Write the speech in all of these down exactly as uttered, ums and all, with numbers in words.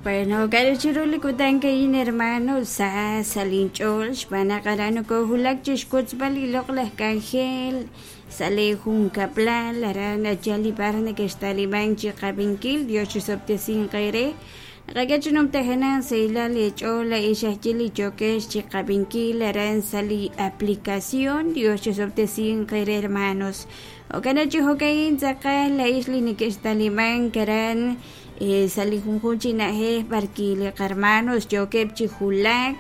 Bueno, k'a'ru chiru li kutan ka'in hermano sa sa' linch'ool xb'aan naq aran nokoowulak chi xwotzb'al li loq'laj k'anjel sa' li junkab'lal aran nachal li b'ar nekextalimank chi qab'inkil Dios chisob'tesinq eere naqak'e chi numtajenaq sahilal eech'ool a'in xajye li yookex chi qab'inkil aran sa' li aplicación Dios chisob'tesinq eere hermanos jo'kan chi jo'ka'in tz'aqal a'ix li nekextalimank aran sa' li junjunq chi na'ajej b'arki li qarmanos yookeb' chi wulak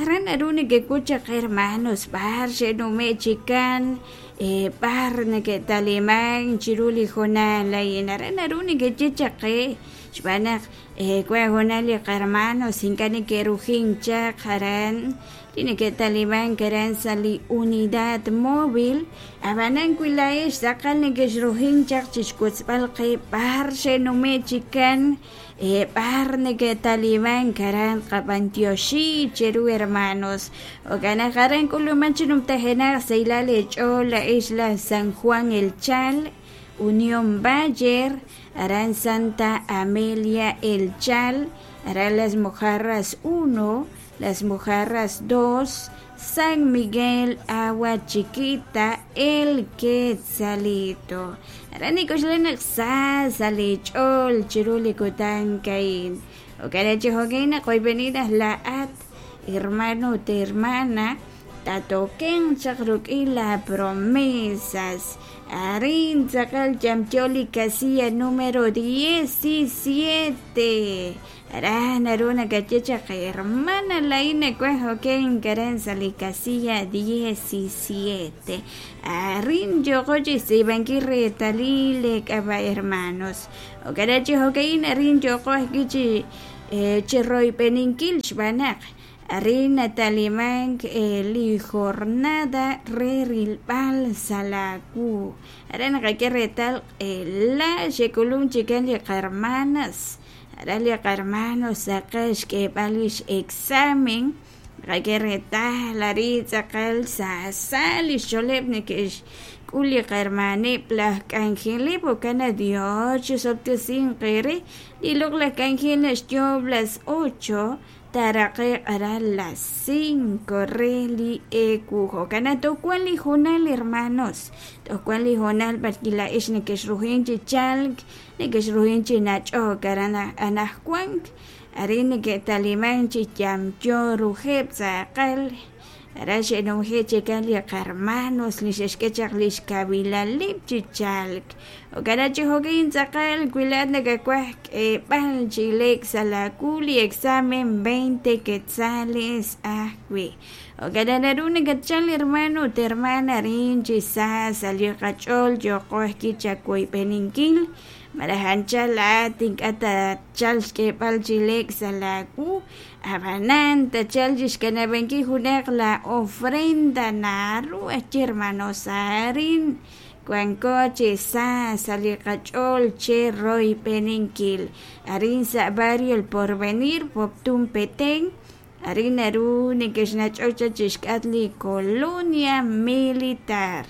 aran naru nekek'ut chaq hermanos b'ar xe'nume' chikan b'ar neke'talimank chiru li hoonal a'in aran naru nekeye chaq qe xb'aan naq wan hoonal li qarmanos ink'a' neke'rujink chaq aran li neke'talimank aran sa' li unidad móvil ab'anan wi laa'ex tz'aqal nekexrujink chaq chi xwotzb'al qe b'ar xe'nume' chikan b'ar neke'talimank aran qab'antioxi cheru hermanos jo'kan naq aran k'uluman chi numtajenaq sahilal eech'ool la'ex laj San Juan El Chal Unión Bayer aran Santa Amelia El Chal aran Las Mojarras uno Las Mojarras dos San Miguel Agua Chiquita El Quetzalito aran nik'oxla naq sa sa' lich'ool chiru li kutan ka'in jo'kan chi jo'kan naq oyb'eni naq laa'at hermano ut hermana tatoken chaq ruk'in la promesas arin tz'aqal yamyo li casilla número diecisiete aran naru nakaye chaq hermana la'in nawaj jo'kan aran sa' li casilla diecisiete arin yooqo chi xtz'iib'ankil reetalil leek'ab'a' hermanos jo'kan chi jo'ka'in arin yooqo ajwi' chi chi royb'eninkil xb'aan naq arin natalimank li jornada re rilb'al sa' laawu aran naqak'e reetal la xe'k'ulunk chikan li qarmanas aran li qarmanos tz'aqal xk'eeb'al li x-examen naqak'e reetal arin tz'aqal saasa li xcholeb' neke'xk'ul li qarmaneb' laj k'anjeleb' jo'kan naq Dios chisob'tesinq eere li loq'laj k'anjel naxyoob' las ocho taaraqe'q aran las cinco re li eewu jo'kan naq toj wan li hoonal hermanos toj wan li hoonal b'arki la'ex nekexrujink chi chalk nekexrujink chi nach'ok aran anajwan arin neke'talimank chi yamyo rujeb' tz'aqal aran xe'numje' chikan li qarmanos li xe'xk'e chaq li xkawilaleb' chi chalk jo'kan naq chi jo'kan tz'aqal wi laa'at nakawaj k'eeb'al chi leek sa' laawu li examen veinte quetzales ajwi' jo'kan naq naru nakatchal hermano ut hermana arin chi sa sa' li qach'ool yooqo ajwi' chawoyb'eninkil malaj anchal laa'at ink'a' tachal xk'eeb'al chi leek sa' laawu ab'anan tachal chi xkanab'ankil junaq la ofrenda naru ajwi' hermanos arin wanko chi sa sa' li qach'ool che royb'eninkil arin sa' barrio El Porvenir Poptún Petén arin naru nekexnach'ok chaq chi xk'atq li colonia militar.